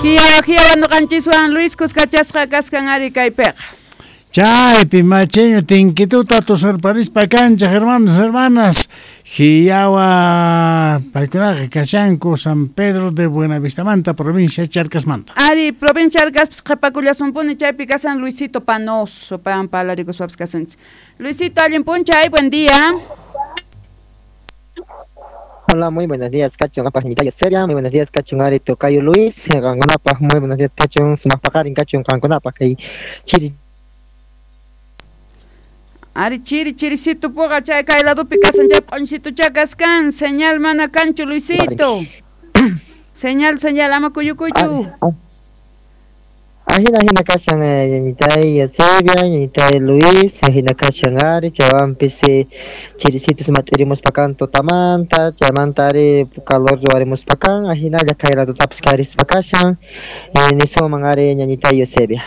Hiyawa hiyawa noqanchiswan Luis kuskachasqa kaskan ari kaypiqa. Chaypi macheño tinkituta tusurparispa kanchej hermanos, hermanas. Hiyawa paykunaqa kashanku San Pedro de Buenavistamanta, provincia Charcasmanta. Ari, provincia Charcaspis qhipakullasumpuni chaypi kasan Luisito Panoso, paywan parlarikuspapis kasunchis. Luisito, allin p'unchay, buen día. Hola, muy buenos días, Cachun, apaj ñitayo seria, muy buenos días, Cachun, ari tocayo Luis, qankunapaj, muy buenos días, Cachun, sumaqpaqarin, Cachun, qankunapaj, kay chiri. Ari chiri chirisito puqa chay kay ladopi kasan chay p'unchito kaskan, señal mana kanchu Luisito. Señal, señal, ama kuyukuychu. Ajina ajina kashan ñañitay Eusebia, ñañitay Luis, ajina kashan ari, chaywanpis chirisito sumat'irimuspakan tutamanta, chaymanta ari calor ruwarimuspakan, ajinalla kay ladotapis karispa kashan, nisuman ari ñañitay Eusebia.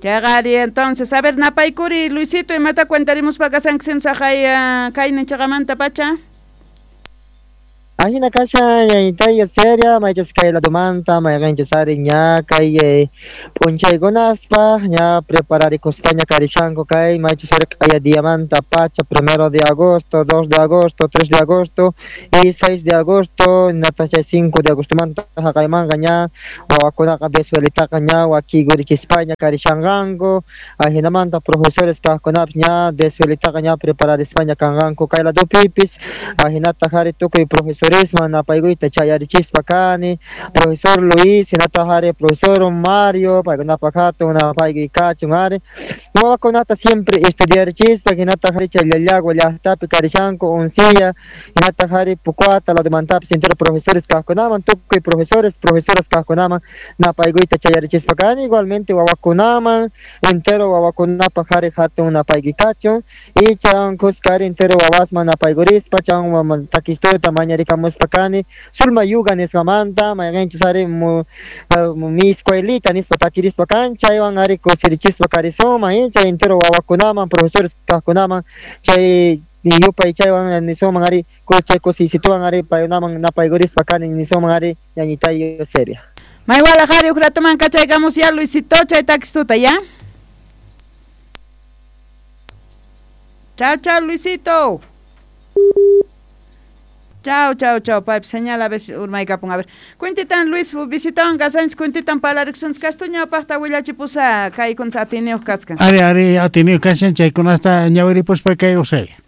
Chayqa ari entonces, a ver, napaykuri Luisito, imata cuentarimuspa kasanki saqay kaynin chaqamanta pacha? Ajina kashan ñañitay Eusebia, maychus kay ladomanta, mayqinchus ari ña kay p'unchaykunaspa, ña prepararikuspaña karishanku kay maychus ari q'aya diamanta pacha, 1 de agosto, 2 de agosto, 3 de agosto y 6 de agosto, hinataq chay 5 de agostomanta haqaymanqa ña wawakunaqa desvelitaqa ña wakigurichispaña karishanqanku, ajinamanta profesores kaqkunapis ña desvelitaqa ña prepararispaña kanqanku kay ladopipis, ajinataq ari tukuy profesores napaykuyta chayarichispa kani, profesor Luis, hinataq ari profesor Mario, paykunapaq hatun napaykuy kachun ari, wawakunata siempre estudiarichispa, hinataq ari chay Llallagua llaqtapi karishanku unsilla, hinataq ari Pucuata ladomantapis entero profesores kaqkunaman, tukuy profesores, profesoras kaqkunaman napaykuyta chayarichispa kani, igualmente wawakunaman, entero wawakunapaq ari hatun napaykuy kachun, y chaywan kuska ari entero wawasman napaykurispa, chaywan takistuta mañarikamuspa kani, Sulma Yuga nisqamanta, mayqinchus ari mi escuelita nispa takirispa kan, chaywan ari kusirichispa karisuman, chay entero wawakunaman, profesores kaqkunaman, chay yupay chaywan nisuman ari, chay kusisituwan ari paykunaman napaykurispa kani nisuman ari ñañitay Eusebia. Maywalaj ari uj ratoman kachaykamus ya Luisito, chay takistuta ya. Chao, chao Luisito. Chao, chao, chao, paypi señal a veces urmaykapun. A ver, cuentitan Luis, visitawan kasanchis, cuentitan parlarikusunchis, kastu ñawpaqta willachipusa kaykuntas atiniyuq kaskan. Ari, ari, atiniyuq kashan, chaykunasta ñawiripuspa kay Eusebia.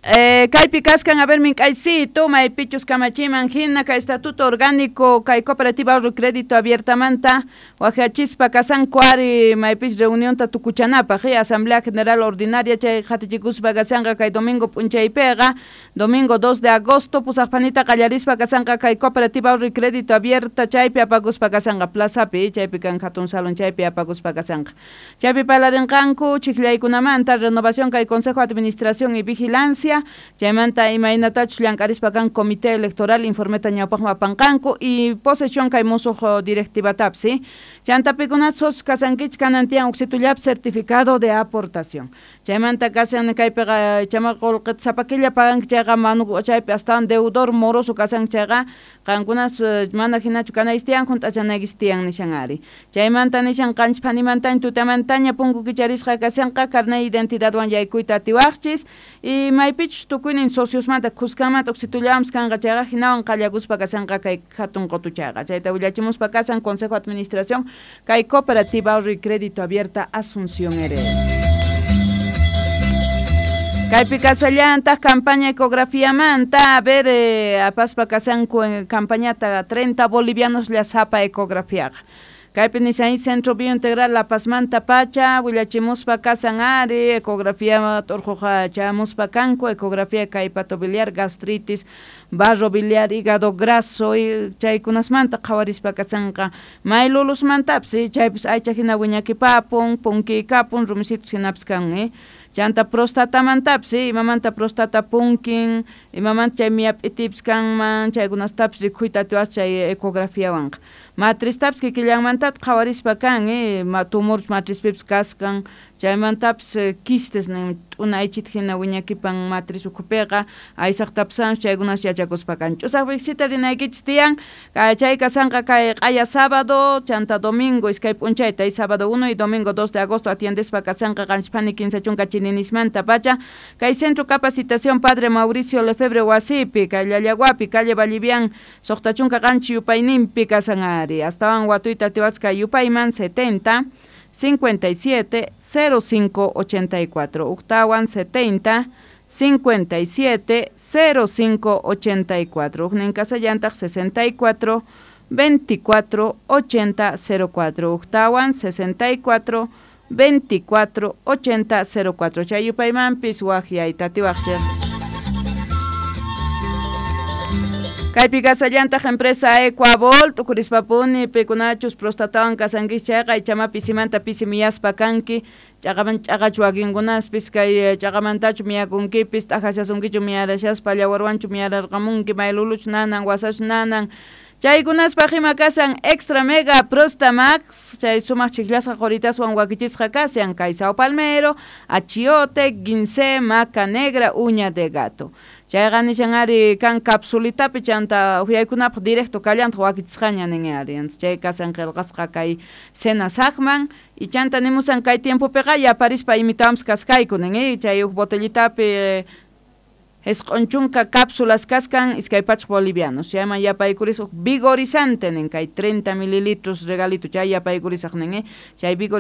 Kaypi kaskan, a ver, mink'aysito, maypichus kamachiman hina, kay estatuto orgánico, kay cooperativa ahorro y crédito abiertamanta, wajachispa kasanku ari, maypis reunionta tukuchanapaq, asamblea general ordinaria, chay hatichikuspa kasanqa kay domingo p'unchaypiqa, domingo 2 de agosto, pusaqpanita qallarispa kasanqa kay cooperativa ahorro y crédito abierta, chaypi apakuspa kasanqa plazapi, chaypi kan hatun salón, chaypi apakuspa kasanqa. Chaypi parlarinqanku chiklaykunamanta, renovación kay consejo de administración y vigilancia, chaymanta imaynatachus llank'arispa kan comité electoral informeta ñawpaqman apanqanku y posesión kay musuq directivatapis, ¿sí? Chantapikuna socios kasankichik kanan tiyan uksitullapi certificado de aportación. Chaymanta kasan kaypiqa chama qullqita sapa killa paganki chayqa manu chaypi astawan deudor moroso kasanki chayqa qankunas mana hinachu kanaychis tiyan hunt'achanaykichis tiyan nishan ari. Chaymanta nishan qanchis phanimantaña tutamantaña punku kicharisqa kashanqa carnet identidadwan yaykuyta atiwaqchis y maypichus tukuynin sociosmanta kuskanmanta uksitullawanpis kanqa chayqa hinawan qallakuspa kashanqa kay hatun qutuchayqa. Chayta willachimuspa kasan Consejo de Administración kay Cooperativa Ahorro y Crédito Abierta Asunción Heredia. Kaypi kasallantaq campaña ecografiamanta, a ver, apaspa kasanku en campañata 30 bolivianos llasapa ecografiaqa. Kaypi nishan Centro Biointegral La Pazmanta pacha, willachimuspa kasan ari, ecografía t'urquqa chamuspa kanku, ecografía kay hepatobiliar, gastritis, barro biliar, hígado graso, y chaykunasmanta qhawarispa kasanqa maylulusmantapis, chaypis aycha hina wiñakipapun, punkikapun, rumisitus hinapis kan, Chanta prostatamantapis, imamanta prostata punkin, imamanta chay miyap'itipis kanman, chaykunastapis rikhuyta atiwaq chay ecografiawanqa. Matristapis kikillanmantata qhawarispa kan, tumor matrizpipis kaskan, Chaymantapis quistes nin t'una aychita hina wiñakipan matriz ukhupiqa aysaqtapas chaykunas yachakuspa kan. Ch'usaq visita rinaykichis tiyan chay kasanqa kay q'aya sábado chanta domingo iskay p'unchayta sábado 1 y domingo 2 de agosto atiendespa kasanqa qanchispani 15 chininismanta pacha kay Centro Capacitación Padre Mauricio Lefebvre wasipi kay Llallaguapi calle Vallivian 67 yupayninpi kasan ari astawan watuyta atiwasqa yupayman 70 57 05 84 uktawan 70 57 05 84 ujnin kasallantaq 64 24 80 04 uktawan 64 24 80 04 chay yupaymanpis waqyayta atiwaqchik. Kaypi kasallantaq empresa Ecuabol t'ukurispapuni pikunachus prostatawan kasankis chayqa ichama pisimanta pisi miyaspa kanki ch'aqaman ch'aqachu wakinkunaspis kay ch'aqamantachu miyakunkipis t'ajashasunkichu miyarashaspa llawarwanchu miyararqamunki mayluluchu nanan wasachu nanan chaykunaspaq ima kasan Extra Mega Prostamax chay sumaq chiklasqa qoritaswan wakichisqa kasan kay sao palmero, achiote, guinsé, maca negra, uña de gato. Chayqa nishan ari kan capsulitapi chanta uhyaykunapaq directo kallantaq wakichisqaña nin ari chay kasan qillqasqa kay cena saqman y chanta nimusan kay tiempopiqa yaparispa imitawams kaskayku nin chay huk botellitapi Esq'unchunka cápsulas kaskan iskay pachak bolivianos chayman yapaykurisaq vigorizante nin kay 30 mililitros regalito chay yapaykurisaq nin chay vigorizante.